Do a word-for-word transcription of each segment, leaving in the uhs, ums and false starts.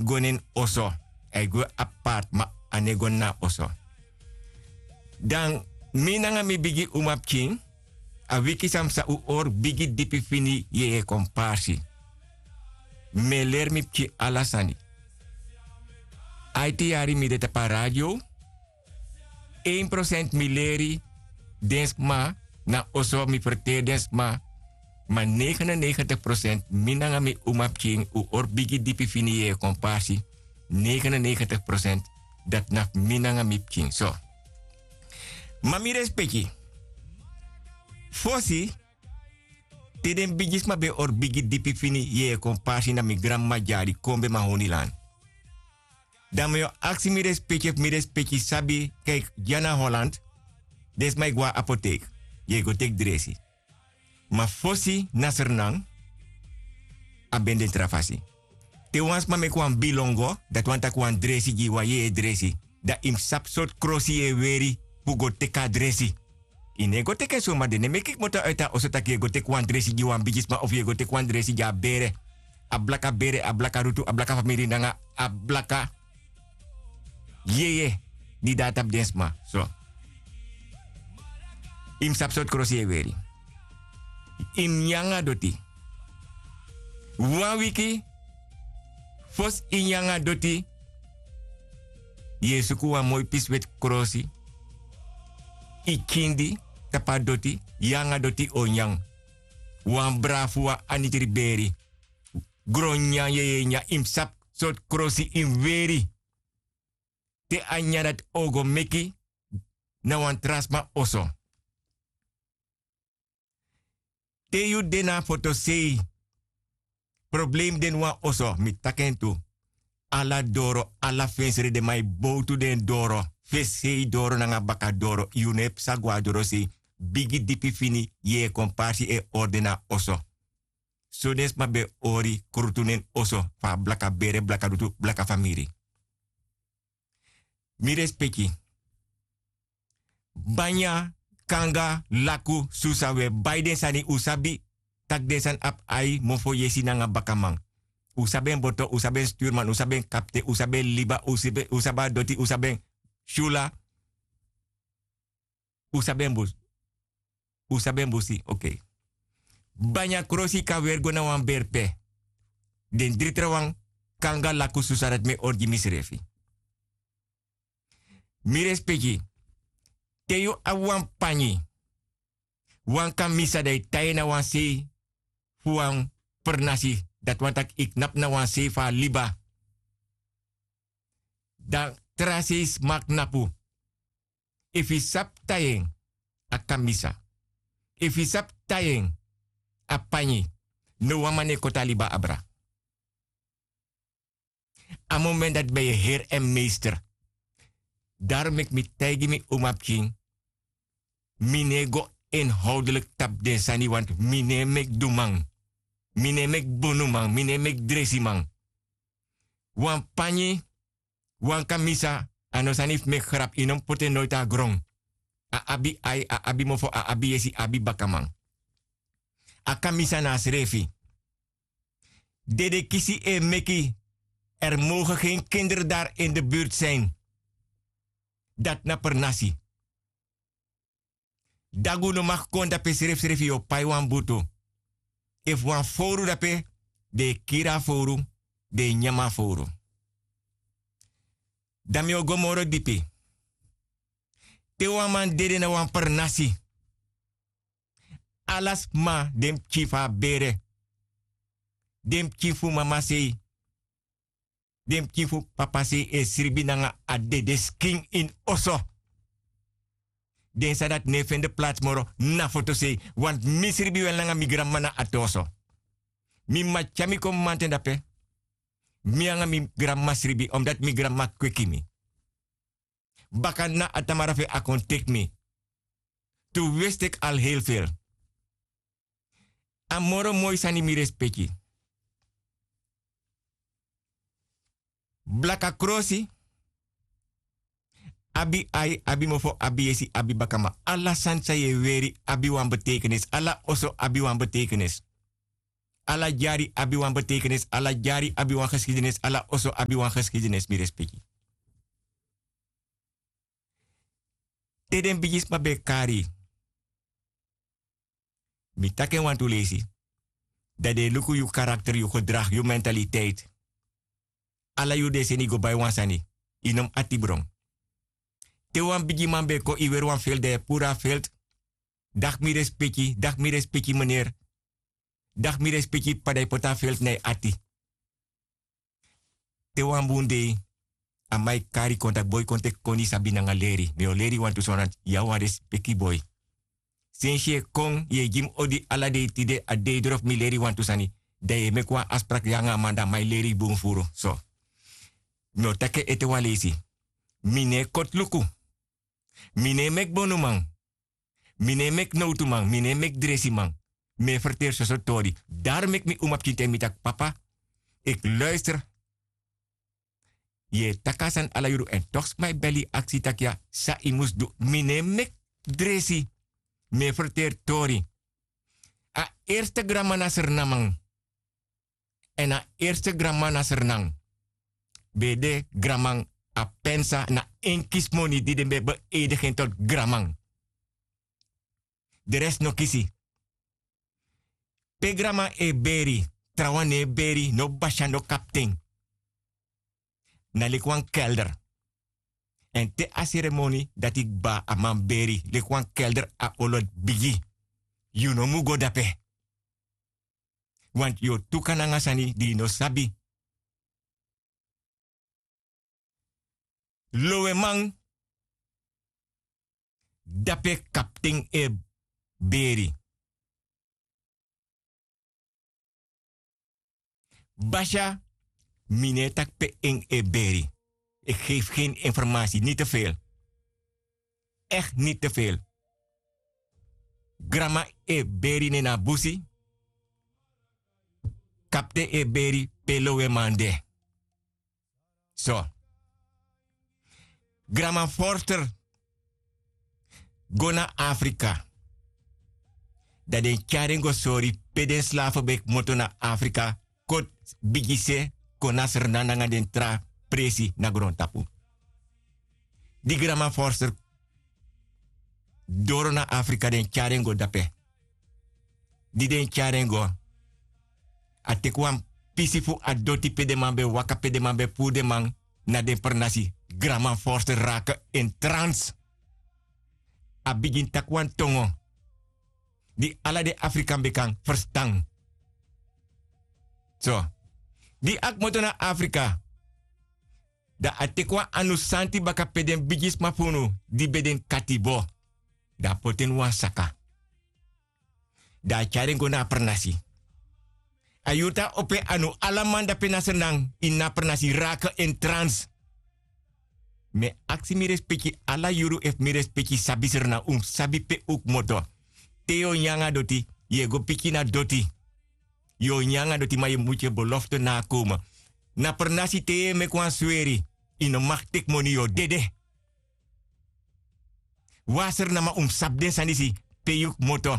go na en oso. A e go apart, ma a no e go na a oso. Dan mi nanga mi bigi umapikin, a wiki san mi sa un hori bigi dipi fini yeye kon parsi. Mi e leri mi pikin ala sani. Aiti yari mi de tapu a radio. Ein prosent mi leri den sma, na oso mi ferteri den sma. Ma negenennegentig prosent mi nanga mi umapikin un hori bigi dipi fini yeye kon parsi. Negenennegentig prosent dati na fu mi nanga mi pikin so. Ma mi respeki, fosi, te den bigisma ben e hori bigi dipi fini yeye kon parsi na mi granmama dyari kon ben mahonilan. Dan mi o aksi mi respeki efu mi respeki sabi, kaiki dya na holland, den sma e go na apotek, yu e go teki dresi. Ma fosi na sernan, a ben de tra fasi. Te wan sma meki wan bilongo, dati wani taki wan dresi gi yu, wan yeye dresi, dan yu mus sabi sortu krosi yu e weri fu go teki a dresi. Yu no e go teki en soma. Den no e meki kmoto na uiti a oso tak' yu e go teki wan dresi gi wan bigisma of yu e go teki wan dresi gi a bere, a blaka bere, a blaka rutu, a blaka famiri nanga a blaka yeye di de na tapu den sma so. Yu mus sabi sortu krosi yu e weri. Yu mus nyan nanga doti. Wan wiki fosi yu nyan nanga doti, yu e suku wan moi pisi weti krosi, yu kindi tapu a doti, yu nanga doti o nyan. Wan brafu, wan anitri beri, gron nyan yeye nyan, yu mus sabi sortu krosi yu mus weri. Te a nyan dati o go meki na wan tra sma oso. Te yu de na a fotosei, problemi de na wan oso, mi taki en tu. Ala doro, ala fensre, den man e bowtu den doro, fesi sei doro nanga baka doro, yu no e psa go na dorosei. Bigi dipi fini yeye kon parsi e hori den na a oso. So den sma ben e hori krutu na en oso fu a blaka bere, blaka dutu, blaka famiri. Mi respeki. Banya, kanga, laku, susa, un e bai den sani, un sabi tak' den sani abi ai, mofo, yesi nanga bakaman. Un sabi en boto, un sabi en sturman, un sabi en kapten, un sabi en liba, un sabi a doti, un sabi en syula. Un sabi en busi. Un sabi en busi, okei. Banya, krosi, kan weri go na wan berpe. Den dri trawan, kanga, laku, susa, dati mi e hori gi misrefi. Mi respeki. Te yu abi wan panyi, wan kamisa, dan yu tai en na wan sei fu wan pernasi, dati wani tak' yu knapu na wan sei fu a liba. Dan tra sei sma knapu. Efu yu sabi tai en, a kamisa. Efu yu sabi tai en, a panyi. No wan man no e koti a liba abra. A moment dati ben yu e heri en meester. Darom meki mi taigi mi umapikin, mi no e go inhoudelik tapu den sani, want mi no e meki duman. Mi no e meki bonuman, mi no e meki dresiman. Wan panyi, wan kamisa, a no sani fu meki grapu, yu no mus poti en noiti na gron. A abi ai, a abi mofo, a abi yesi, a abi bakaman. A kamisa na a srefi. Dedekisi e meki, er mogen gen kinder dari in de burtu sin. Dati na pernasi. Dagu no maki kon dape srefsrefi yu o pai wan butu. Efu wan fowru dape, den e kiri a fowru, den e nyan a fowru. Dan mi o go moro dipi. Te wan man dede na wan pernasi, ala sma, den pikin fu a bere, den pikin fu mama sei, den pikin fu papa sei e sribi nanga a dedeskin ini oso. Den sani dati no e fende plats moro na fotosei, want mi sribi wel nanga mi granmama na a te oso. Mi mama tyari mi kon mamanten dape. Mi nanga mi granmama sribi, omdati mi granmama kweki mi. Baka na a tamara fu en a kon teki mi. Tu westeki al heel fel. A moro moi sani, mi respeki. Blaka krosi abi ai, abi mofo, abi yesi, abi bakaman. Ala sani san yu e weri abi wan betekenis. Ala oso abi wan betekenis. Ala dyari abi wan betekenis, ala dyari abi wan geskidenis, ala oso abi wan geskidenis, mi respeki. Te den bigisma ben e kari, mi taki en wantu leisi, dan den e luku yu karakter, yu gedrag, yu mentaliteit. Ala yuru den e seni yu go bai wan sani, yu no mus ati bron. Te wan bigiman ben e kon, yu weri wan velt, dan yu e puru a velt. Daki mi respeki, daki mi respeki meneer. Daki mi respeki p'pa, dan yu poti a velt na yu ati. Te wan bun dei a man e kari kon taki: boi, kon teki koni, sabi nanga leri. Mi o leri yu wantu sani, yu a wan respeki boi. Sensi yu e kon, yu e gi mi odi ala dei, tide a dei drof mi leri yu wantu sani. Dan yu e meki wan afspraak, yu nanga a man, dan a man e leri yu bun furu. So, mi o taki en ete wan leisi. Mi no e koti luku. Mi no e meki bonuman. Mi no e meki nowtuman, mi no e meki dresiman. Mi e ferteri soso tori. Daro meki mi umapikin taigi mi taki: papa, ik luister. Yu e taki a sani ala yuru, èn toch sma e beli yu aksi taki ya san yu mus du. Mi no e meki dresi. Mi e ferteri tori. A eerste granma na Sranan man. Èn a eerste granma na Sranan ben de granman Apensa, na en kisi moni di den ben beëdig en tot granman. De rest no kisi. Pe granman e beri, trawan no e beri, no basya, no kapten. Na leki wan kelder. Èn te a seremoni dati kba, a man beri, leki wan kelder a olo bigi. Yu no mu go dape. Want yu o tuka nanga sani di yu no sabi. Loweman, dape kapten e beri. Basya, mi no e taki pe en e beri. Ik geef geen informatie, niet te veel. Echt niet te veel. Granma e beri nen na busi. Kapten e beri pe loweman de. So. Granma Forster go na Afrika. Dan den tyari en go sori pe den slafu ben kmoto na Afrika, koti bigise kon na Sranan nanga den tra presi na grontapu. Di granma Forster doro na Afrika, den tyari en go dape. Di den tyari en go, a teki wan pisi fu a doti pe den man ben waka, pe den man ben puru den man na den pernasi. Granma Forster raken en trans. A bigin taki wan tongo di ala den Afrikan ben kan ferstan. So, di a kmoto na Afrika, dan a teki wan anu santi baka pe den bigisma fu unu di ben de ini katibo. Dan a poti en ini wan saka. Dan a tyari en go na a pernasi. A yuru tan a opo en anu, ala man dape na Sranan ini a pernasi raken en trans. Mi e aksi mi respeki ala yuru, efu mi respeki sabi Sranan, un mus sabi pe un kmoto. Te yu o nyan nanga doti, yu e go piki na doti. Yu o nyan nanga doti, ma yu mutu yu belofte nakomen. Na pernasi te yu e meki wan sweri, yu no mag teki moni, yu o dede. Wan Srananman, un mus sabi den sani disi, pe yu kmoto.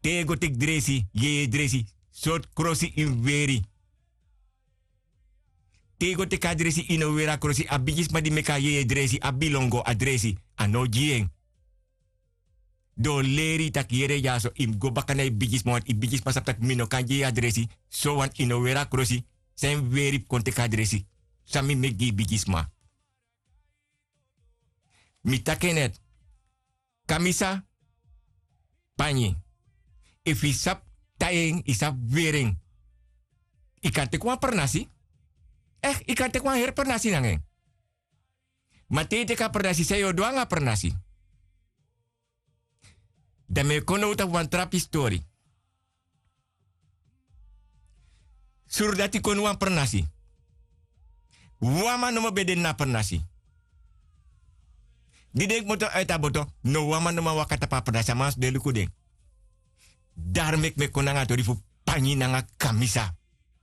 Te yu e go teki dresi, yeye dresi, sortu krosi yu mus weri. Te yu e go teki a dresi, yu no weri a krosi. A bigisma di meki a yeye dresi, a bilongo a dresi, a no gi en. Den o leri yu taki yere dyaso, yu mus go baka na yu bigisma, want yu bigisma sabi taki mi no kan gi yu a dresi. So want yu no weri a krosi, san yu mus weri fu kon teki a dresi. San mi meki gi yu bigisma? Mi taki en net. Kamisa, panyi. Efu yu sabi tai en, yu sabi weri en, yu kan teki wan pernasi. Echt, yu kan teki wan heri pernasi nanga en. Ma te yu teki a pernasi, san yu o du nanga a pernasi? Dan mi e kon now tapu wan tra pisi tori. Suru dati kon na wan pernasi. Wan man nomo ben de na a pernasi. Di den kmoto uiti a boto, no wan man no man waka tapu a pernasi, a man mus de luku den. Daro meki mi e kon nanga a tori fu panyi nanga kamisa.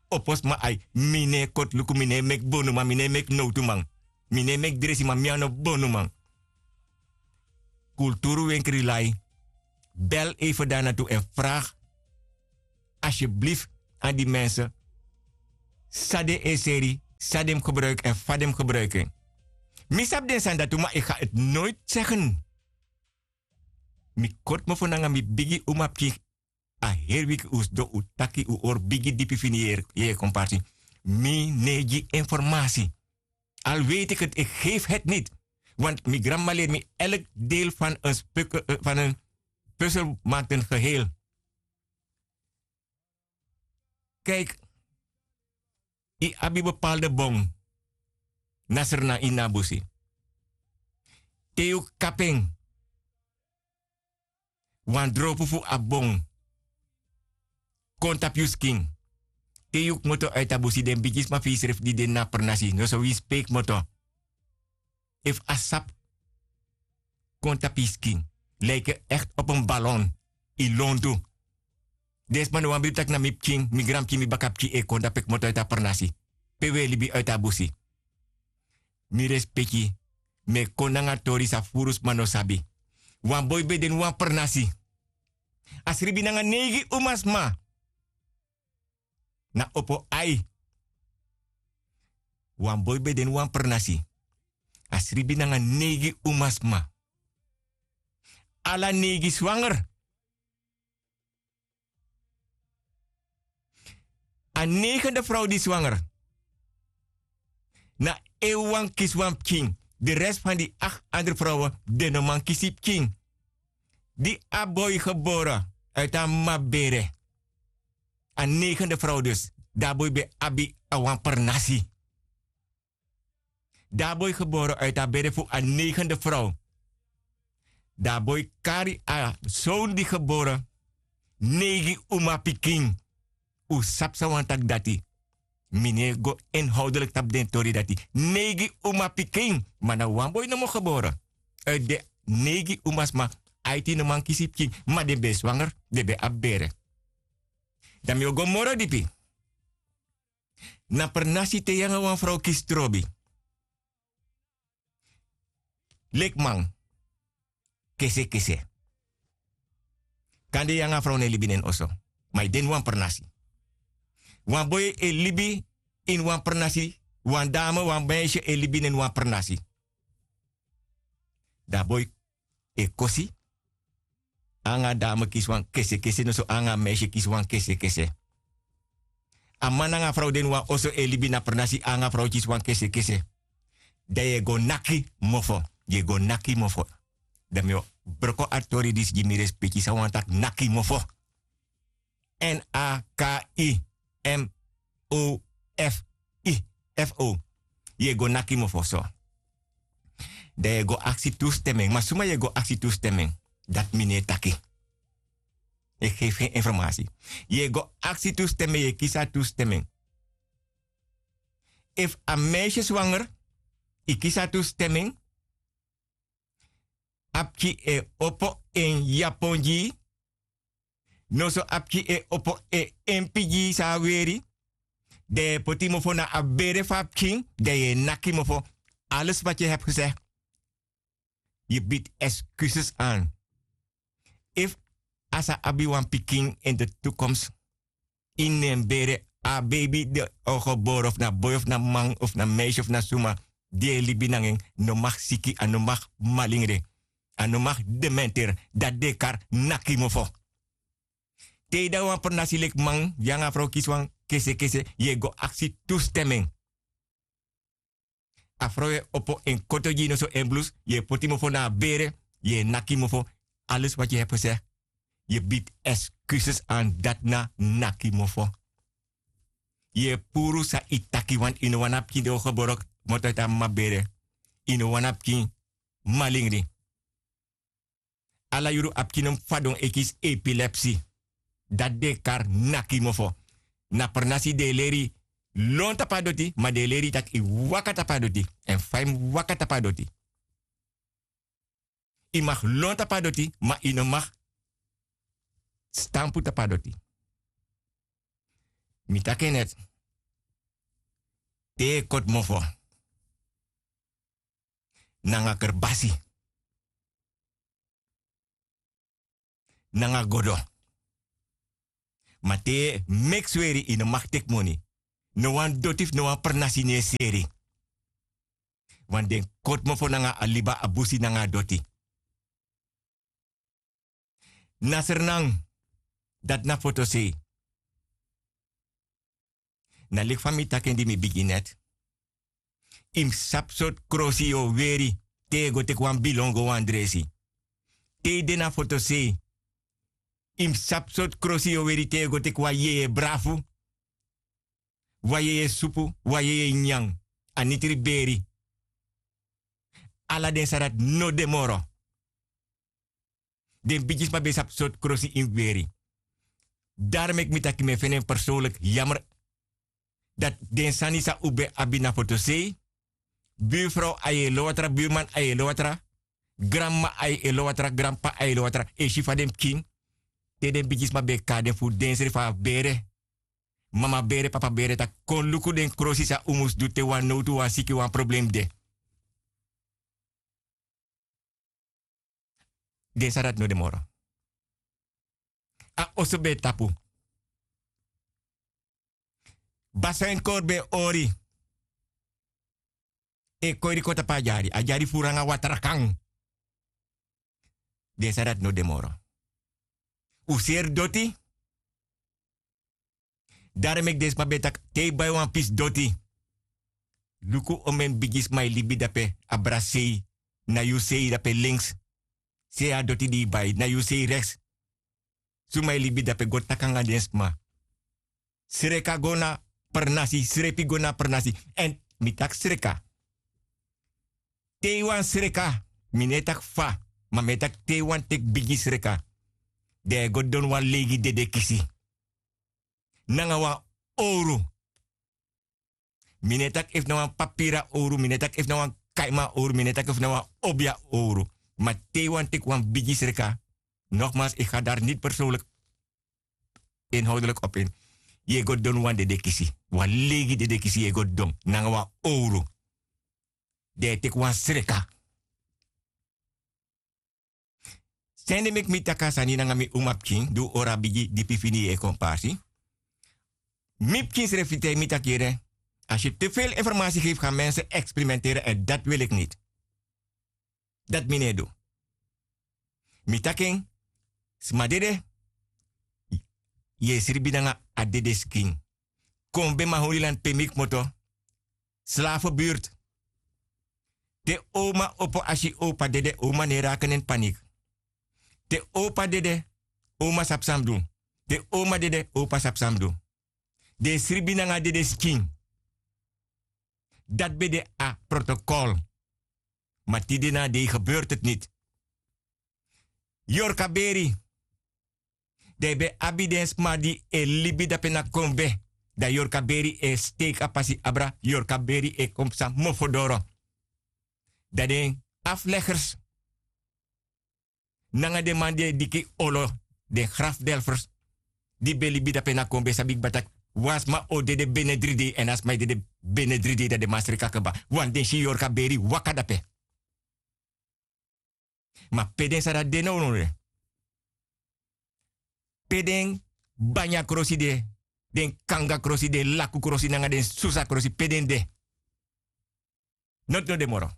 Opo sma ai, mi no e koti luku, mi no e meki bonuman, mi no e meki nowtuman. Mi no e meki dresiman, mi a no bonuman. Kulturu wenkri lai. Bel even daar naartoe en vraag Asyeblifi, an di mense, san den e seri, san den mus gebruiki èn fa den mus gebruiki en. Mi sabi den sani dati, ma eki ga eti noiti segen. Mi kortu mofo nanga mi bigi umapikin. A heri wiki un sidon un taki un hori bigi dipi fini yere yere komparti. Mi no e gi informasi. Al weti eki eti eki gefi heti niti. Want mi granmama leri mi elk deel fan en spuk fan en puzzel maki den geheel. Kiki, yu abi bepalde bon. Na srna ini a busi. Te yu kapi en, wan dropu fu a bon kon tapu yu skin. Te yu kmoto uiti a busi den bigisma fu yusrefi di de na pernasi noso wi speki kmoto. Efu a sapu kon tapu yu skin, lijke ekti opo en balon, yu lontu. Den sma no wani bribi tak' na mi pikin, mi granpikin, mi bakapikin e kon tapu e kmoto uiti a pernasi. Pe wi e libi uiti a busi. Mi respeki. Mi e kon nanga tori san furu sma no sabi. Wan boi ben de ini wan pernasi. A sribi nanga neigi umasma. Na opo ai. Wan boi ben de ini wan pernasi. A sribi nanga neigi umasma. Ala neigi swanger. A neigende frow di swanger, na en wan kisi wan pikin. De resi fan di akti andri frowen, den no man kisi pikin. Di a boi gebore uiti a mama bere, a neigende frow dus, di a boi ben abi a wan pernasi. Di a boi gebore uiti a bere fu a neigende frow. Di a boi kari a soni di gebore neigi umapikin. Un sabi san wani taki dati. Mi no e go inhoudeliki tapu den tori dati. Neigi umapikin, ma na wan boi nomo gebore. Uiti den neigi umasma, aiti no man kisi pikin, ma den ben e swanger, den ben abi bere. Dan mi o go moro dipi. Na pernasi te yu nanga wan frow kisi trobi. Leki man, kesekese. Kande yu nanga a frow no e libi na en oso, ma yu de ini wan pernasi. Wan boi e libi ini wan pernasi. Wan dame, wan meisje e libi na ini wan pernasi. Dan a boi e kosi. Anga a dame kisi wan kesekese, noso anga a meisje kisi wan kesekese. A man nanga a frow de ini wan oso e libi na pernasi, anga a frow kisi wan kesekese. Dan yu e go naki mofo. Yu e go naki mofo. Dan mi o broko a tori disi gi mi respeki san wani taki naki mofo. N A K I M O F I F O. Yu e go naki mofo so. Dan yu e go aksi tu steming. Ma suma yu e go aksi tu steming? Dati mi no e taki. Eki gefi gen informasi. Yu e go aksi tu steming, yu e kisi a tu steming. Efu a meisje swanger, yu kisi a tu steming. A pikin e opo en yapon gi yu. Noso a pikin e opo en empi gi yu san a weri. Dan yu e poti mofo na a bere fu a pikin, dan yu e naki mofo. Alles wat yu hebi gesegi, yu bidi excuses an. Efu a sa abi wan pikin in de toekomst, ini en bere, a beibi di o gebore of na boi of na man of na meisje of na suma, di e libi nanga en, no mag siki, a no mag malingri, a no mag dementeri. Dati den e kari naki mofo. Te yu de na wan pernasi leki man, yu nanga a frow kisi wan kesekese, yu e go aksi tu steming. A frow e opo en koto gi yu noso en blus, yu e poti mofo na a bere, yu e naki mofo. Alles wat yu hebi gesegi, yu bidi excuses an. Dati na naki mofo. Yu e puru san yu taki, want yu no wani a pikin di o gebore kmoto uiti a mama bere. Yu no wani a pikin malingri. Ala yuru a pikin no mus fadon e kisi epilepsi. Dati den e kari naki mofo. Na pernasi den e leri yu lon tapu a doti, ma den e leri yu tak' yu waka tapu a doti. Èn fa yu mus waka tapu a doti. Yu mag lon tapu a doti, ma yu no mag stampu tapu a doti. Mi taki en neti. Te yu e koti mofo nanga kerbasi, nanga godo, Ma te yu e meki sweri, yu no mag teki moni. No wan doti fu no wan pernasi no e seri. Wan den koti mofo nanga a liba, a busi nanga a doti. Na srnan, dati na fotosei. Na leki fa mi taki en di mi bigin neti. Yu mus sabi sortu krosi yu o weri te yu e go teki wan bilon go wan dresi. Te yu de na fotosei, yu mus sabi sortu krosi yu o weri te yu e go teki wan yeye brafu, wan yeye supu, wan yeye nyan, a nitri beri. Ala den sani dati no de moro. Den bigisma ben sabi sortu krosi yu mus weri. Daro meki mi taki mi e feni en persoonlijk jammer dati den sani san un ben abi na fotosei, buurvrouw a e lowatra, buurman a e lowatra, granmama a e lowatra, granpapa a e lowatra, e si fa den pikin, te den bigisma ben e kari den fu den srefi a bere, mama bere, papa bere, taki kon luku den krosi san un mus du te wan nowtu, wan siki, wan problem de. Den sani dati no de moro. A oso ben e tapu. Baso en kori ben e hori. E koiri kon tapu a dyari, a dyari furu nanga watra kan. Den sani dati no de moro. Un seri doti. Daro meki den sma ben taki te yu bai wan pisi doti, luku omeni bigisma e libi dape, abra sei, na yu sei dape links. Sei a doti di yu bai, na yu sei reks. Suma e libi dape, go taki nanga den sma. Sreka go na pernasi, srepi go na pernasi. Èn mi taki sreka. Te yu wani sreka, mi no e taki fa, ma mi e taki te yu wani teki bigi sreka, dan yu e go don wan leigi dede kisi nanga wan owru. Mi no e taki efu na wan papira owru, mi no e taki efu na wan kaiman owru, mi no e taki efu na wan obia owru. Ma te yu wani teki wan bigi sreka, nogmaals, ik ga daar niet persoonlijk inhoudelijk op in. Yu e go don wan dede kisi, wan leigi dede kisi yu e go don nanga wan owru. Dan yu e teki wan sreka. San ede meki mi taki a sani nanga mi umapikin, di un ori a bigi dipi fini yu e kon parsi. Mi pikin srefi taigi mi taki yere, als je te veel informatie geeft gaan mensen experimenteren en dat wil ik niet. Dati mi no e du. Mi taki en, sma dede, yu e sribi nanga a dede skin. Kon ben maholiland pe mi kmoto, slavenbuurt. Te oma opo a si opa dede, oma no e raken en panik. Te opa dede, oma sabi san mus du. Te oma dede, opa sabi san mus du. Den e sribi nanga dede skin. Dati ben de a protokol. Ma tide na a dei gebeurt het niet. Yorkaberi. Dan yu ben abi den sma di e libi dape na kombe. Dan yorkaberi e steki a pasi abra, yorkaberi e kon psa mofo doro. Dan den afleggers nanga den man di e diki olo, den grafdelfers, di ben libi dape na kombe, sabi kba taki wan sma o dede bene dri dei, èn a sma e dede bene dri dei, dan den man sreka kba. Wan den si yorkaberi waka dape. Ma pe den sani dati de nownow de? Pe den banya krosi de, den kanga krosi, den laku krosi nanga den susa krosi, pe den de? Noti no de moro.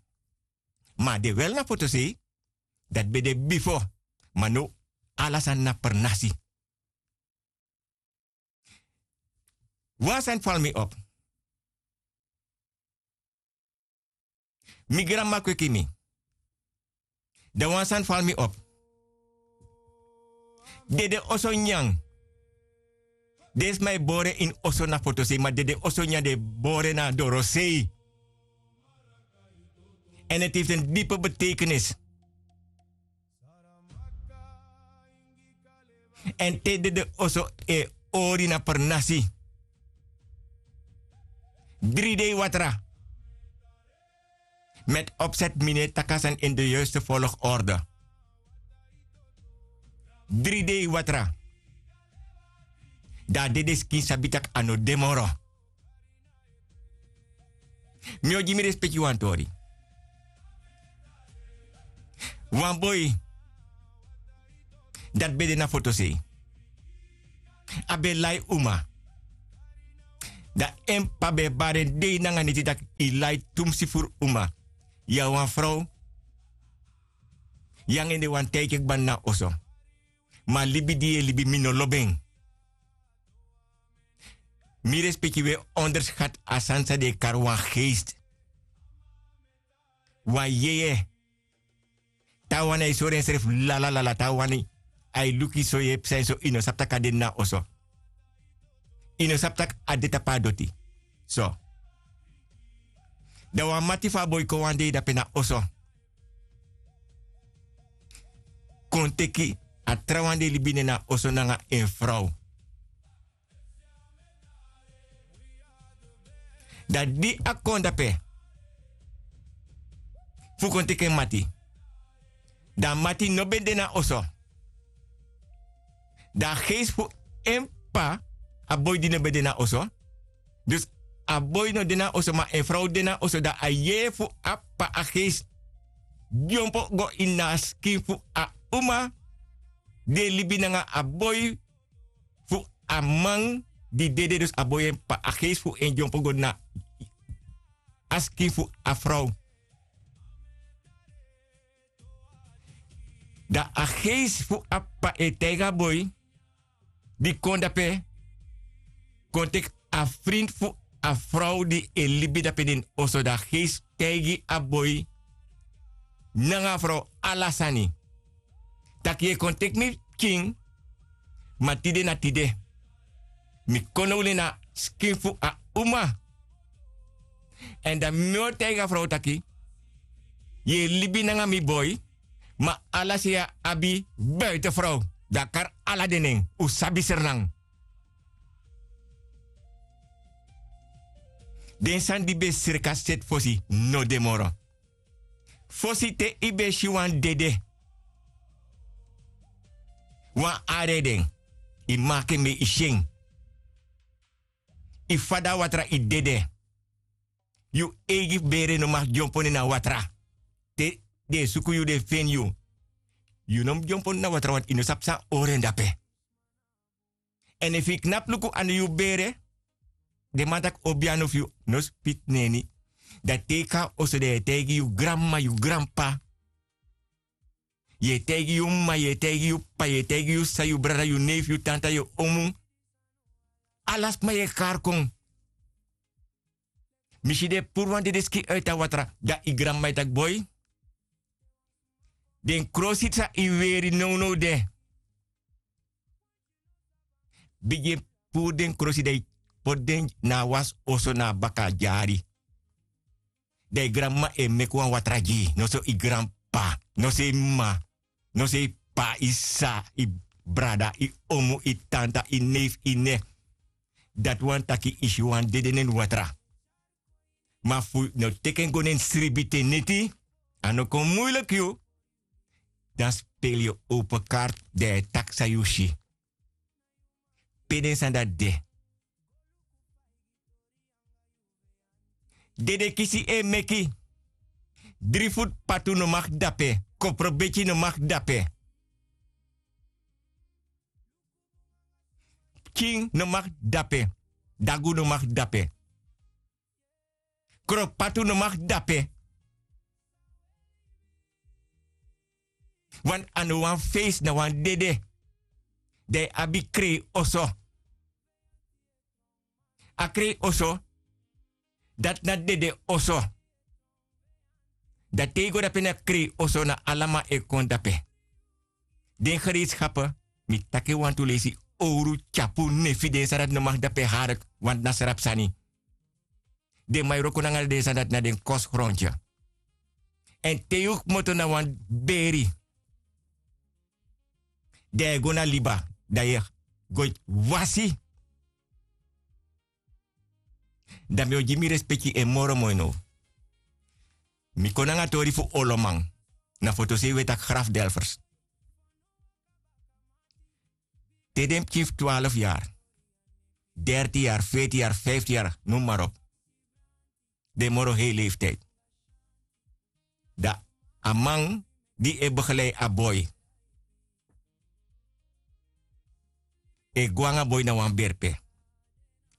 Ma a de wel na fotosei, dati ben de bifo. Ma now ala sani na pernasi. Wan sani fali mi op. Mi granmama kweki mi. Dan wan sani fali mi op. Dede oso nyan. Den sma e bore ini oso na fotosei, ma dede oso nyan den e bore na dorosei. En het heeft een diepe betekenis. En te dede oso e ori na pernasi. Dri dei watra. Met opzet mi no e taki a sani in de juiste volgorde. Dri dei watra. Dan a dede skin sabi taki a no de moro. Mi o gi mi respeki wan tori. Wan boi dati ben de na fotosei. A ben lai uma. Dan en p'pa ben e bari en dei nanga neti taki yu lai tumsi furu uma. Yu na wan frow. Yu nanga en de wani taigi en kba na oso. Ma a libi di yu e libi mi no lobi en. Mi respeki wi e onderskati a sani san den e kari wan geesti. Wan yeye. Taawan na e sori ensrefi lalalala taawan na e luku yu so yu e psa en so yu no sabi tak' a de na oso. Yu no sabi tak' a de tapu a doti. So dan wan mati fu a boi kon wan dei dape na oso. Kon teki a trawan di e libi nen na oso nanga en frow. Dan di a kon dape fu kon teki en mati, dan a mati no ben de na oso. Dan a geisi fu en p'pa, a boi di no ben de na oso. Dus a boi no de na oso ma en frow de na oso dan a yeye fu a p'pa a geisi dyompo go ini a skin fu a uma di e libi nanga a boi fu a man di dede dus a boi en p'pa a geisi fu en dyompo go na a skin fu a frow. Dan a geisi fu a p'pa e taigi a boi di kon dape kon teki a frinti fu a frow di e libi dape den oso dan a geisi taigi a boi nanga a frow ala sani. Tak' yu e kon teki mi pikin ma tide na tide mi kon now nen na skin fu a uma. Èn dan mi o taigi a frow taki yu e libi nanga mi boi. Ma ala sei a abi buiten frow dan a kari ala den nen un sabi srnan. Den sani di ben sreka seti fosi no de moro. Fosi te yu ben si wan dede wan ari e den yu maki en mei yu si en. Yu fada a watra yu dede. Yu eigi bere no maki dyompo nen na watra. Te den e suku yu den feni yu. Yu no mus dyompo nen na watra wantu yu no sabi san ori en dape. Èn efu yu knapu luku a no yu bere den man taki obi a no fu yu no spiti neni. Dan te yu kon na oso dan yu e taigi yu granmama yu granp'pa. Yu e taigi yu m'ma yu e taigi yu p'pa yu e taigi yu sisa yu brada yu neifi yu tanta yu omu. Ala sma yu e kari kon. Mi si den e puru wan dede skin uiti a watra dan yu granmama e taki boi. Den krosi san yu weri nownow de bigin puru den krosi dan yu poti den na a wasi oso na a baka a dyari. Dan yu granmama e meki wan watra gi yu noso yu granp'pa noso yu m'ma noso yu p'pa yu sisa yu brada yu omu yu tanta yu neifi yu ne. Dati wani taki yu si wan dede neni watra. Ma fu yu no teki en go neni sribi te neti a no kon muiliki yu. Dan speli yu open karti dan yu e taki san yu si. Pe den sani dati de. Dedekisi e meki. Dri futu patu no maki dape. Koprobeki no maki dape. Pikin no maki dape. Dagu no maki dape. Kropatu no maki dape. Wantu a no wan feisi na wan dede. Dan yu abi krei oso. A krei oso dati na dede oso. Dan te yu go dape na krei oso na alaman e kon dape. Den gereitskapu mi taki en wantu leisi owru tyapu nefi den sani dati no maki dape hari wantu na srapu sani. Den man e wroko nanga den sani dati na den kosi gronti. Èn te yu kmoto na wan beri dan yu e go na liba dan yu e go wasi. Dan mi o gi mi respeki en moro moi now. Mi kon nanga tori fu oloman na fotosei we taki grafdelfers. Te den pikin fu twalfu yari derti yari feiti yari fifti yari noem marop. Den moro hei leeftiydi dan a man di e begelei a boi. e go nanga boi na wan berpe.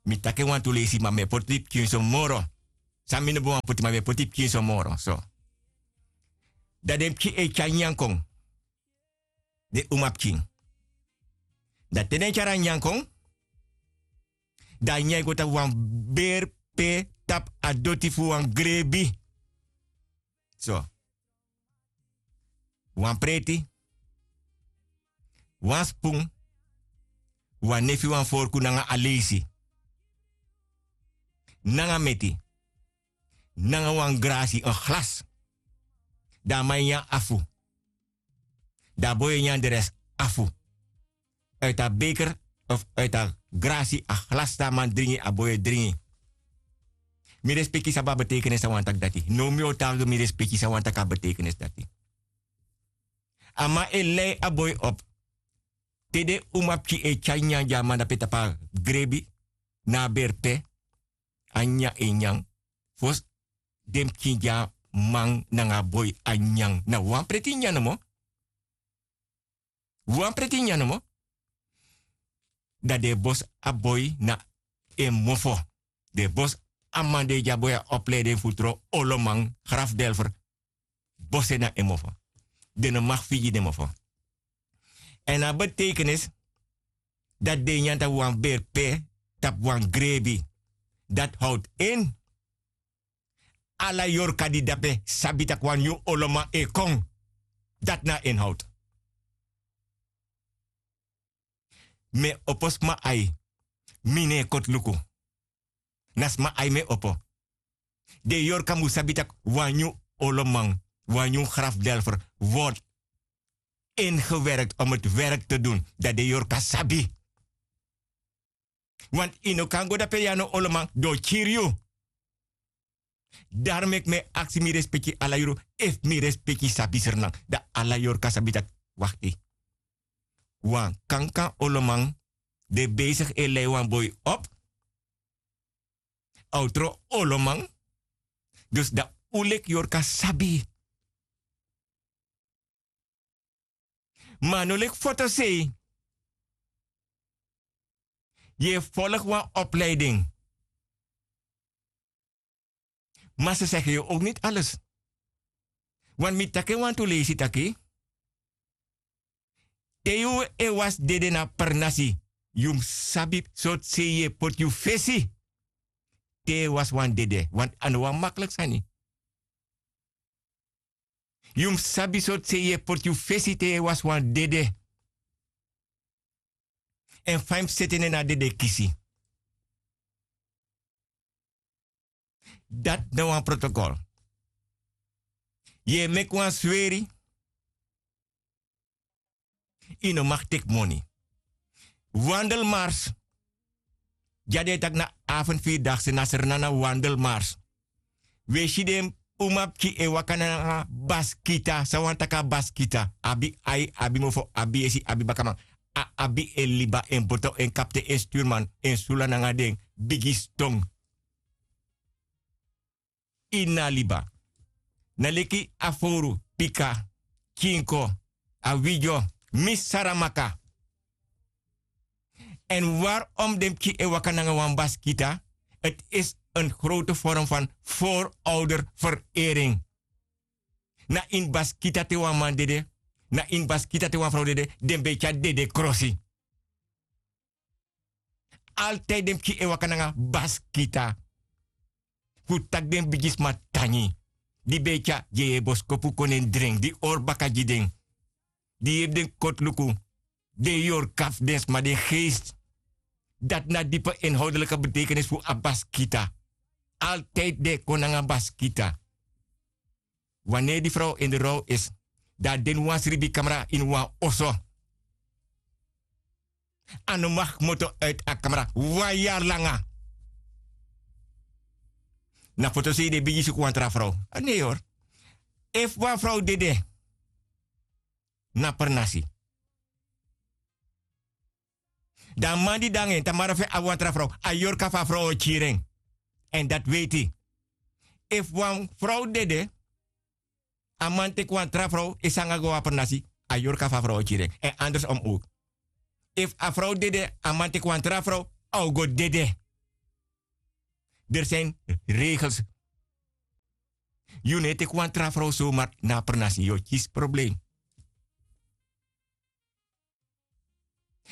Mi taki en wantu leisi ma mi e poti pikin so moro. San mi no ben wani poti ma mi e poti pikin so moro so. Dan den pikin e tyari nyanyan kon. Den umapikin. Dan te den tyari a nyanyan kon, dan a nyanyan e go tapu wan berpe tapu a doti fu wan grebi. So, wan preti, wan spun, wan nefi wan forku nanga a leisi, nanga meti, nanga wan grasi en glas. Dan a man e nyan afu. Dan a boi e nyan de resi afu. Uit a beker of uit a grasi a glas san a man dringi a boi e dringi. Mi respeki sabi a betekenis san wani taki dati now mi o taigi mi respeki san wani taki a betekenis dati. A man e lei a boi op. Te den umapikin e tyari nyanyan gi a man dape tapu a grebi, na a berpe, a nyanyan e nyan. Fosi den pikin gi a man nanga a boi a nyanyan na wan preti nyanyan nomo. Wan preti nyanyan nomo. Dan den e bosi a boi na en mofo. Den e bosi a man di e gi a boi a opleiding fu tron oloman grafdelfer. Bosi en na en mofo. Den no maki figi den mofo. Èn a betekenis dati den e nyan tapu wan berpe, tapu wan grebi, dati howtu en. Ala yorka di dape sabi tak' wan nyun oloman e kon. Dati na en howtu. Mi e opo sma ai. Mi no e koti luku. Na sma ai mi e opo. Den yorka mus sabi tak' wan nyun oloman, wan nyun grafdelfer word ingewerkt om het werk te dun, dan den yorka sabi. Want yu no kan go dape yu a no oloman den o kiri yu. Dari meki mi e aksi mi respeki ala yuru, efu mi respeki sabi srnan, dan ala yorka sabi tak', wakti, wan kankan oloman de besigi e lei wan boi op. A o tron oloman. Dus dan un leki yorka sabi. Ma a no leki fotosei. Yu e folgi wan opleiding. Ma se segi yu ok niti ales. Wan mi taki en wantu leisi taki, te yu e wasi dede na pernasi, yu mus sabi sortu sei yu e poti yu fesi. Te yu e wasi wan dede wantu a no wan makliki sani. Yu mus sabi sortu sei yu e poti yu fesi te yu e wasi wan dede. Èn fa yu mus seti en na a dede kisi. Dati na wan protokol. Yu e meki wan sweri. Yu no maki teki moni. Wandelmars. Di a den e taki na afen firi dagse na srnan na wandelmars. Wi e si den umapikin e waka nanga baskita san wani taki a baskita abi ai abi mofo abi yesi abi bakaman. A abi en liba en boto en kapten en sturman en sula nanga den bigi ston. Ini a liba na leki a fowru pika, kinko, a widyo, misi saramaka. Èn wari om den pikin e waka nanga wan baskita? Ti isi en grote form fan foroder ferering. Na ini baskita te wan man dede, na ini baskita te wan frow dede, den ben e tyari dede krosi. Altidi den pikin e waka nanga baskita. Fu taki den bigisma tangi di ben e tyari yeye boskopu kon nen drengi di hori baka gi den, di yepi den koti luku, den yorka fu den sma den geesti. Dati na dipe enhowdelike betekenisi fu a baskita. Altidi den e kon nanga baskita. Waneri di frow en de row isi, dan a de ini wan sribikamra ini wan oso. A no maki kmoto uiti a kamra wan yari langa. Na fotosei den bigin suku wan tra frow. A nei hori. Efu wan frow dede na pernasi, dan a man di de nanga en tamara fu en abi wan tra frow, a yorka fu a frow o kiri en. Èn dati weiti, efu wan frow dede, a man teki wan tra frow e sanga go a pernasi, a yorka fu a frow o kiri en. Èn andersom owk. Efu a frow dede a man teki wan tra frow, a o go dede. Deri sin regels. Yu no e teki wan tra frow somar na a pernasi yu o kisi problem.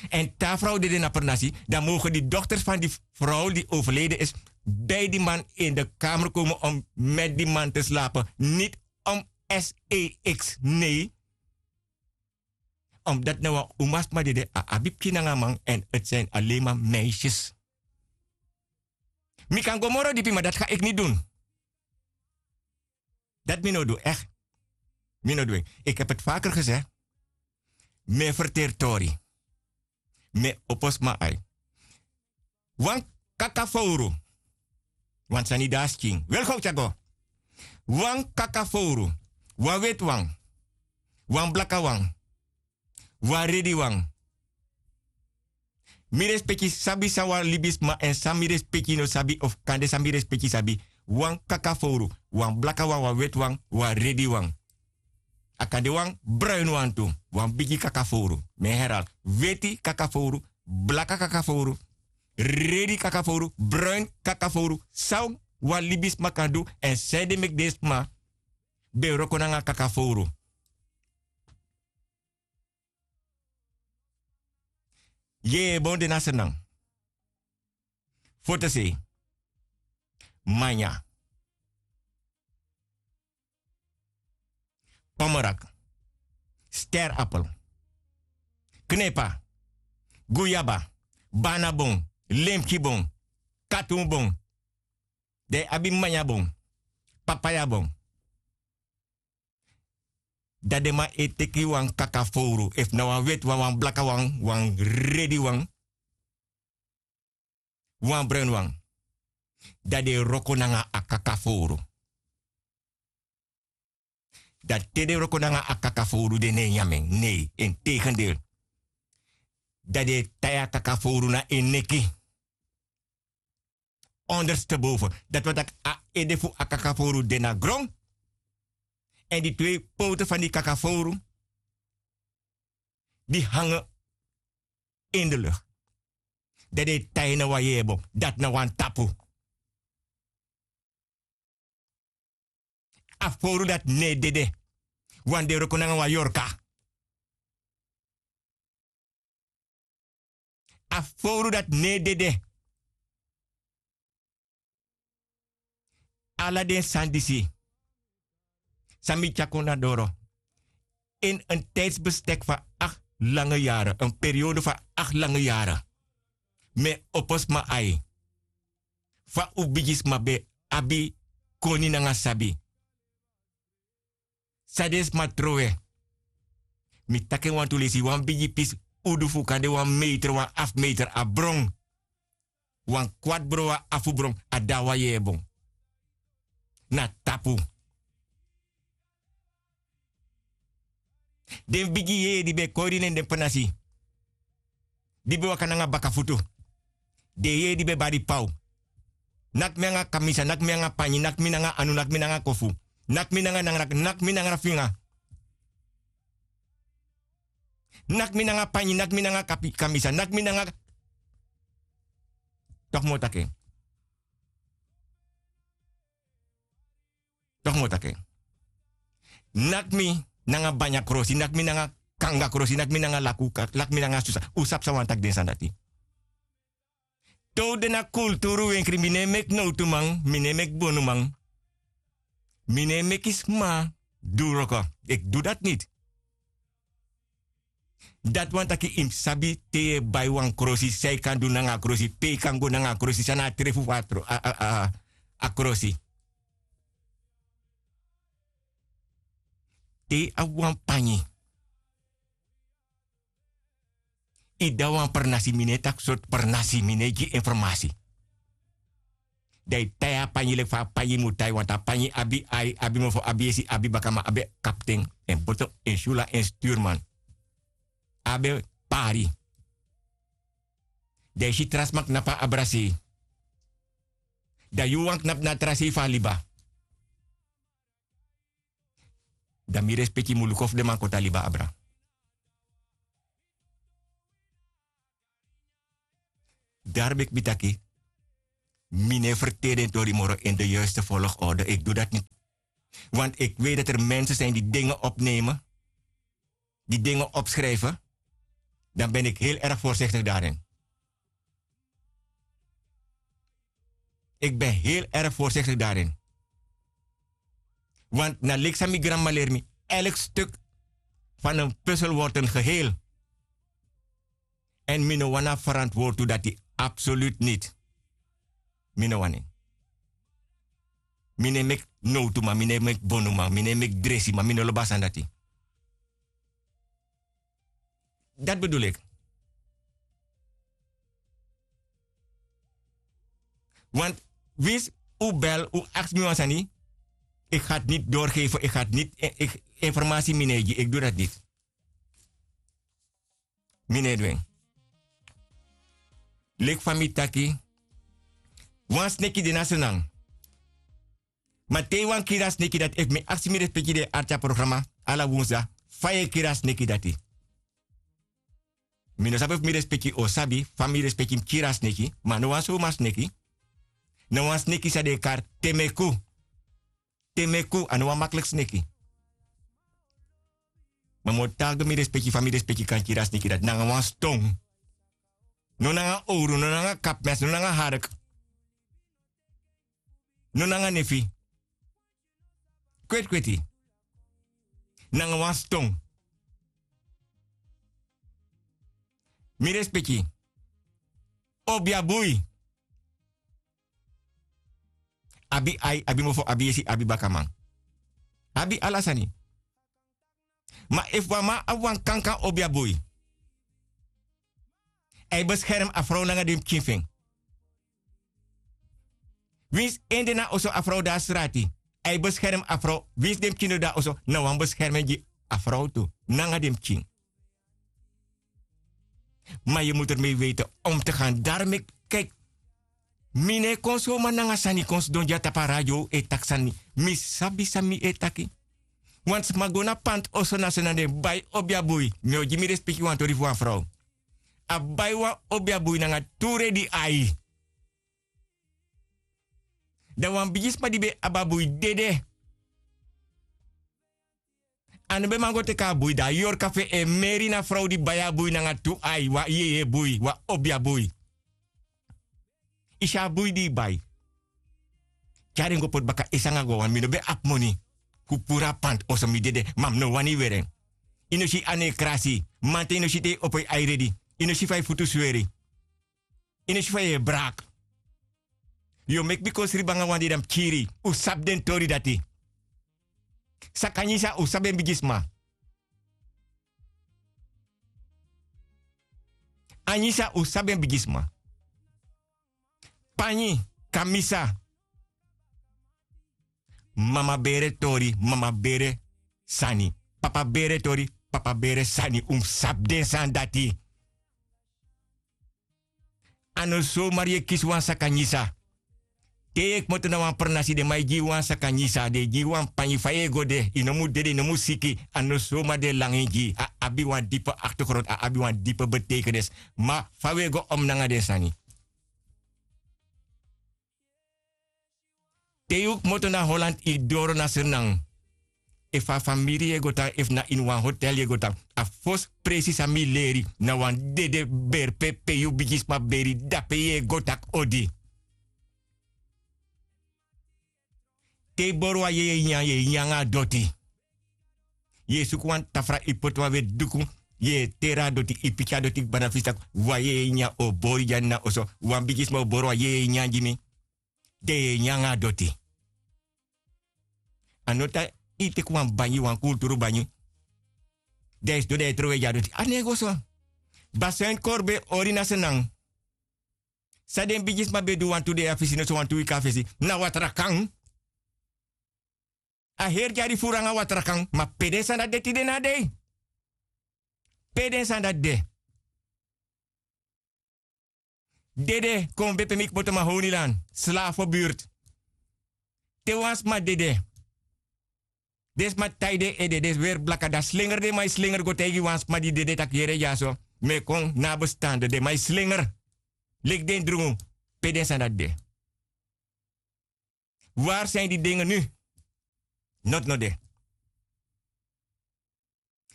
Èn te a frow dede na pernasi dan mogen di dokters fan di frow di overleden is bij di man in de kamer komen om met di man te slapen niti om s e x nei. Omdati na wan umasma dede a abi pikin nanga man èn eti sin alema meisjes. Mi kan go moro dipi ma dati ga iki ni dun. Dati mi no du eki. Mi no du eki. Iki hebi eti faker gese. Mi e ferteri tori. Mi e opo sma ai. Wan kaka fowru. Wan sani de a skin weri gowtu a go. Wan kaka fowru. Wan weti wan. Wan blaka wan. Wan redi wan. Mi respeki sabi san wan libisma èn san mi respeki no sabi of kande san mi respeki sabi. Wan kaka fowru. Wan blaka wan wan weti wan wan redi wan. A kan de wan bruin wan tu. Wan bigi kakafowru. Mi e heral. Weti kakafowru. Blaka kakafowru. Redi kakafowru. Bruin kakafowru san wan libisma kan du èn san ede meki den sma ben wroko nanga kakafowru. Yeye bon de na sernan. Fotosei. Manya. Pomerak. Sterappel. Knepa. Guyaba. Banabon. Lemkibon. Katunbon. Dan yu abi manyabon. Papayabon. Dan den man e teki wan kakafowru efu na wan weti wan wan blaka wan wan redi wan wan bruin wan. Dan den e wroko nanga a kakafowru. Dan te den wroko nanga a kakafowru den no e nyan mi en nei en tegendel. Dan den e tai a kakafowru na en neki. Onderste boven dati wani taki a ede fu a kakafowru de na gron. Èn di twei powtu fan di kakafowru di hange in de lucht. Dan den e tai na wan yebo dati na wan tapu. A fowru dati no e dede. Wan den wroko nanga wan yorka. A fowru dati no e dede. Ala den sani disi san mi tyari kon na doro ini en tijdsbestek fu a akti lange yaren en periode fu a akti lange yaren. Mi e opo sma ai fa un bigisma ben abi koni nanga sabi. San den sma trowe. Mi taki en wantu lesi wan bigi pisi udu fu kan de wan meter wan afu meter a bron. Wan kwati bron wan afu bron a de a wan yeye bon. Na tapu. Den bigi yeye di ben e kori nen den pernasi di ben waka nanga bakafutu. Den yeye di ben bari paw. Naki mi nanga kamisa naki mi nanga panyi naki mi nanga anu naki mi nanga kofu. Naki mi nanga nangra naki mi nangra finga. Naki mi nanga panyi naki mi nanga kamisa naki mi nanga. Toki mi o taki en. Toki mi o taki en. Naki mi nanga banya krosi naki mi nanga kanga krosi naki mi nanga laku naki mi nanga susa un sabi san wani taki den sani dati. Te un de na kulturu wenkri mi no e meki nowtuman mi no e meki bonuman. Mi no e meki sma du wroko. Eki du dati niti. Dati wani taki yu mus sabi te yu e bai wan krosi san yu kan du nanga a krosi pe yu kan go nanga a krosi san na a trefu fu a krosi. Te yu abi wan panyi yu de na wan pernasi mi no e taki sortu pernasi mi no e gi informasi. Dan yu tai a panyi leki fa a panyi mu tai wantu a panyi abi ai abi mofo abi esi abi bakaman abi kapten en boto en syula en sturman. Abi pari. Dan yu si tra sma knapu a abra sei. Dan yu wan knapu na a tra sei fu a liba. Dan mi respeki yu mu luku fu den man koti a liba abra. Dari meki mi taki, mi no e ferteri den tori moro in de yuiste volgorde. Iki du dati niti. Want iki weti dati er mensen sin di dingen opnemen, di dingen opschrijven, dan ben iki hel erg vorsiktigi darin. Iki ben hel erg vorsiktigi darin. Want na leki san mi granmama leri mi, elk stuk fan en puzzel word en geheel. Èn mi no wani a ferantwortu dati, absoluut niti. Mi no wani. Mi no e meki nowtu man, mi no e meki bonu man, mi no e meki dresi man, mi no lobi a sani dati. Dati bedoel iki. Want winsi un bel, un aksi mi wan sani, iki ga dati niti doorgeven, iki ga dati niti informasi mi no e gi, iki du dati niti. Mi no e du en. Leki fa mi taki, wan sneki de na Sranan. Ma te yu wani kiri a sneki dati, efu mi aksi mi respeki di e arki a programa ala wunsu, fa yu e kiri a sneki dati? Mi no sabi efu mi respeki o sabi fa mi respeki mus kiri a sneki, ma a no wan sowma sneki. Na wan sneki san den e kari temeku. Temeku, a no wan makliki sneki. Ma mi o taki gi mi respeki fa mi respeki kan kiri a sneki dati, nanga wan ston. No nanga owru, no nanga kapmes, no nanga hark. No nanga nefi. Kweti kweti. Nanga wan ston. Mi respeki. Obiabui. Abi ai, abi mofo, abi yesi, abi bakaman. Abi ala sani. Ma efu wan man abi wan kankan obiabui, a e beskermi a frow nanga den pikin fu en. Winsi en de na oso, a frow de na srati, a e beskermi a frow. Winsi den pikin no de na oso, na wan beskermen gi a frow tu nanga den pikin. Ma yu mutu ermei weiti om te gan. Dari meki, kiki, mi no e kon soma nanga sani kon sidon dya tapu a radio e taki sani. Mi sabi san mi e taki. Wan sma go na panti oso na Sranan, den bai obiabui. Mi o gi mi respeki wan tori fu wan frow. A bai wan obiabui nanga tu redi ai. Dan wan bigisma di ben abi a bui dede. A no ben man go teki a bui, dan a yorka fu en e meri na frow di bai a bui nanga tu ai, wan yeye bui, wan obiabui. Yu si a bui di yu bai, tyari en go poti baka esi nanga go wan. Mi no ben abi moni fu puru a panti oso, mi dede, ma mi no wani weri en. Yu no si a no e krasi. Manten yu no si te yu opo yu ai redi. Yu no si fa yu futu sweri. Yu no si fa yu e braki. Yu o meki mi kon sribi nanga wan dede, dan mi kiri. Un sabi den tori dati. Sakanyisa, un sabi en bigisma. Anyisa, un sabi en bigisma. Panyi, kamisa. Mama bere tori, mama bere sani. Papa bere tori, papa bere sani. Un mus sabi den sani dati. A no somari yu e kisi wan sakanyisa. Te yu e kmoto na wan pranasi, den man e gi yu wan sakanyisa, den e gi yu wan panyi. Fa yu e go de, yu no mu dede, yu no mu siki. A no somari den e langa en gi yu. A abi wan dipe achtergrond, a abi wan dipe betekenis. Ma fa wi e go om nanga den sani? Te yu kmoto na Holland, yu doro na Sranan, efu a famiri yu e go tan, efu na ini wan hotel yu e go tan, a fosi presi san mi leri, na wan dede berpe pe yu bigisma beri, dape yu e go taki odi. Te yu boro wan yeye nyan, yu e nyan nanga a doti. Yu e suku wan tafra, yu poti wan weti duku, yu e teri a doti, yu piki a doti kba na fesi taki wan yeye nyan o bori dya na oso, wan bigisma o boro wan yeye nyan gi mi. Den e nyan nanga a doti. A no taki yu teki wan banyi, wan kulturu banyi, dan yu sidon dan yu e trowe gi a doti. A no e go so. Basuin Kori ben e hori na Sranan. San den bigisma ben du wantu dei a fesi, noso wantu wiki a fesi, na watrakan. A heri dyari furu nanga watrakan, ma pe den sani dati de tide na dei? Pe den sani dati de? Dede, kon ben pe mi kmoto, Mahoniland, Slavenbuurt. Te wan sma dede, den sma tai den ede, den weri blaka, dan slingeri den man e slingeri go taigi wan sma di dede taki yere dyaso, mi e kon na a bestande, den man e slingeri. Leki den drungu, pe den sani dati de? Wari san yu di dengi nu? Noti no de.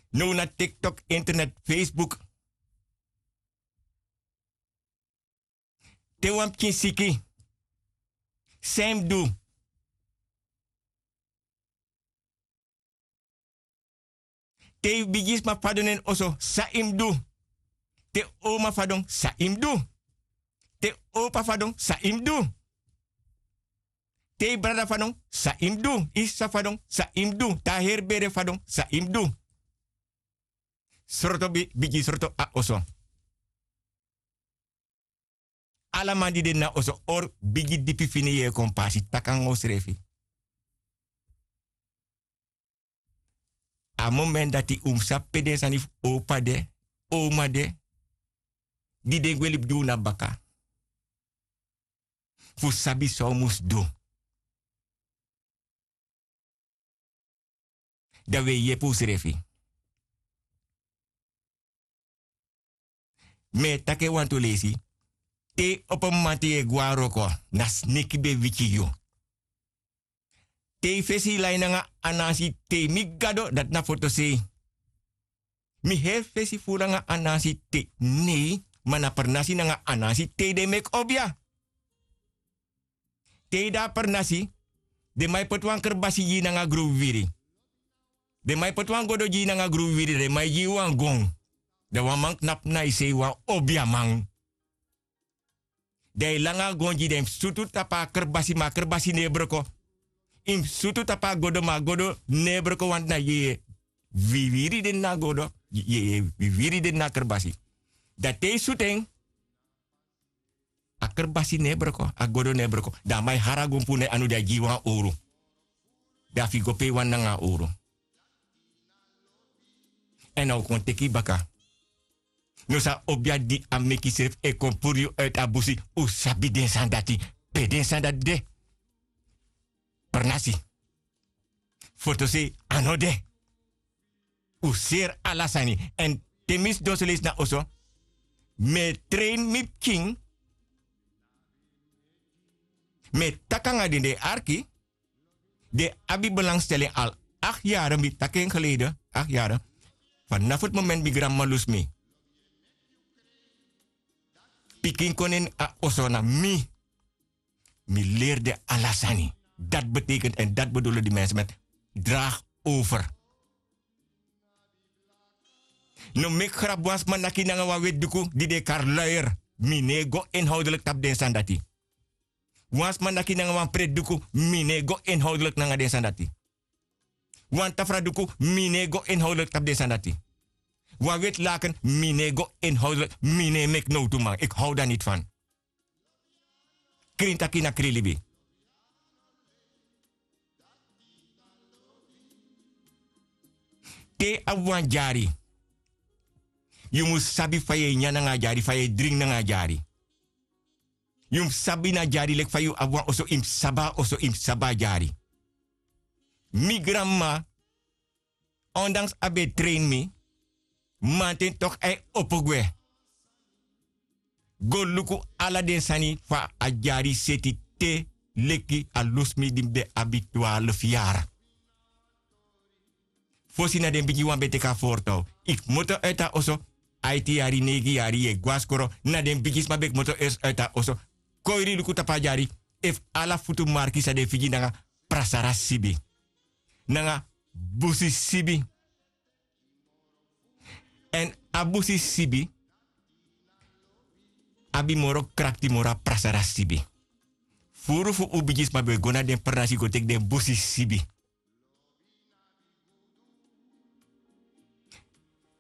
Now na TikTok, internet, Facebook. Te wan pikin siki, san yu mus du? Te yu bigisma fadon na en oso, san yu mus du? Te oma fadon, san yu mus du? Te opa fadon, san yu mus du? Te yu brada fadon, san yu mus du? Yu sisa fadon, san yu mus du? Te a heri bere fadon, san yu mus du? Sroto bi-, bigi sroto a oso. Ala man di de na oso, hori bigi dipi fini yeye kon pasi, taki nanga usrefi. A moment dati un mus sabi pe den sani fu opa de, oma de, di den gwe libi gi un na baka. Fu sabi san un mus du. Dan wi e yepi usrefi. Mi e taki en wantu leisi. Te yu opo mamanten yu e gwe na wroko, na sneki ben wiki yu. Te yu fesi lai nanga Anansi, te yu miti Gado, dati na fotosei. Mi heri fesi furu nanga Anansi te, nei, ma na pernasi nanga Anansi te den meki obia. Te yu de na pernasi, den man e poti wan kerbasi gi yu nanga gron wiwiri. Den man e poti wan godo gi yu nanga gron wiwiri, den man e gi yu wan gon. Dan wan man knapu na yu sei, wan obiaman. Dan yu langa a gon gi den, yu mus sutu tapu a kerbasi, ma a kerbasi no e broko. Yu mus sutu tapu a godo, ma a godo no e broko, want na yeye wiwiri de na a godo, yeye wiwiri de na a kerbasi. Dan te yu sutu en, a kerbasi no e broko, a godo no e broko. Dan a man e hari a gon puru na yu anu, dan a gi yu wan owru. Dan a fu yu go pe yu wani nanga a owru. Èn a o kon teki yu baka. Noso a obia di a meki srefi e kon puru yu uit a busi, un sabi den sani dati, pe den sani dati de. Pernasi. Fotosei a no de. Un seri ala sani. Èn te mi sidon so leisi na oso, mi e train mi pikin. Mi e taki nanga den, den e arki. Den abi belangstelling al acht yaren, mi taki en geleden, acht yaren. Vanaf het moment mi granmama lusu mi, pikin kon na ini a oso na mi. Mi leri den ala sani. Dat betekent, en dat bedoelen die mensen met draag over. No meki grabu, wan sma naki nanga wan weti duku di den e kari luier, mi no e go inhoudelijk tapu den sani dati. Wan sma naki nanga wan preti duku, mi no e go inhoudelijk nanga den sani dati. Wan tafra duku, mi no e go inhoudelijk tapu den sani dati. Wan weti laken, mi no e go inhoudelijk, mi no e meki nowtu man, ik hou daar niet van. Krin taki na krin libi. Te yu abi wan dyari, yu mus sabi fa yu e nyan nanga a dyari, fa yu e dringi nanga a dyari. Yu mus sabi na dyari, leki fa yu abi wan oso, yu mus sabi a oso, yu mus sabi a dyari. Mi granmama, ondanks a ben e train mi, mamanten toch a e opo gwe go luku ala den sani fa a dyari seti te leki a lusu mi di mi ben abi twaalf yari. Fosi na den bigi wan ben teki a voortouw. Yu kmoto uit a oso, aiti yari, neigi yari, yu e go na skoro, na den bigisma ben kmoto eerst uit a oso. Kon yu luku tapu a dyari, efu ala futu marki san den figi nanga prasara sibi. Nanga busi sibi. Èn a busi sibi abi moro krakti moro a prasara sibi. Furu fu un bigisma ben e go na den pernasi go teki den busi sibi.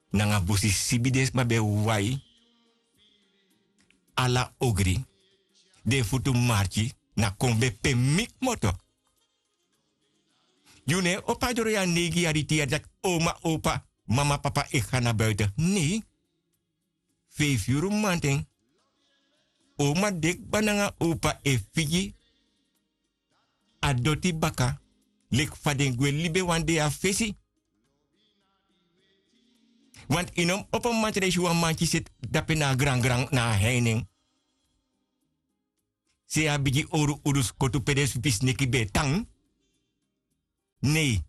Nanga busi sibi den sma ben e wai ala ogri, den futu marki, na kon ben pe mi kmoto. Yu no e opo a doro yu a neigi yari, tin yari, taki oma, opa, mama, papa, e go na buiten. Nei. Feifi yuru mamanten, oma de kba nanga opa e figi a doti baka, leki fa den gwe libi wan dei na fesi. Want yu no mus opo mamanten dan yu si wan manki seti dape na a grangran na a heinen. te a bigi owru uduskotu pe den supi sneki ben e tan. Nei.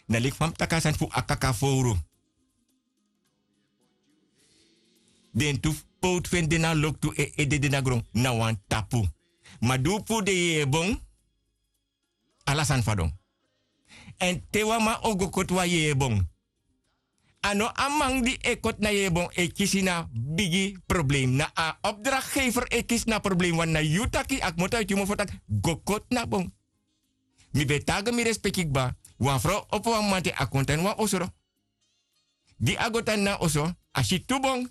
Na leki fa mi taki a sani fu a kaka fowru. Den tu powtu fu en de na loktu e ede de na gron na wan tapu. Ma di un puru den yeye bon, ala sani fadon. Èn te wan man o go koti wan yeye bon, a no a man di e koti na yeye bon e kisi na bigi problem, na a opdrakgefer e kisi na problem. Wan na yu taki a kmoto a yu tyumofo taki go koti na bon. Mi ben taga mi respeki kba. Wan frow opo wan mamanten a kon tan ini wan osoro. Di a go tan ini a oso, a si tu bon.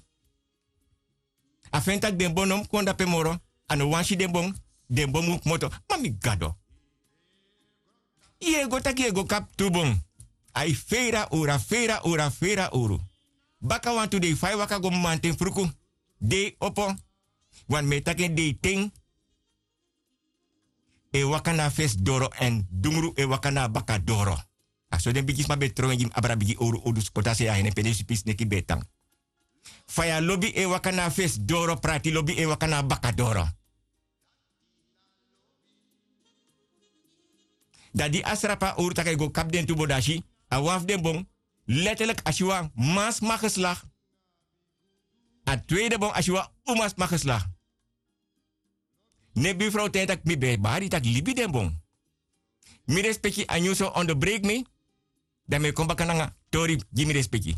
A feni tak' den bon no mus kon dape moro. A no wani si den bon. Den bon mus kmoto. Ma mi gado, yu e go tak' yu e go kapu tu bon. A e feira owru a feira owru a feira owru. Baka wantu dei fa yu waka go mamanten fruku, dei opo. Wan mi e taki en deiten e waka na a fesi doro èn dungru e waka na a baka doro. A so den bigisma ben tron en gi mi abra bigi owru uduskotu a sei a hene pe den supi sneki ben e tan. Faya lobi e waka na a fesi doro prati lobi e waka na a baka doro. Dan di a srapu a owru tak' a e go kapu den tu bon dan a si a wan fu den bon. Leterlik a si wan mansma geslak. A tweide bon a si wan umansma geslak. Ne bifrow ten taki mi ben e bari taki libi den bon. Mi respeki a nyun so onderbreki mi. Dan mi e kon baka nanga tori gi mi respeki.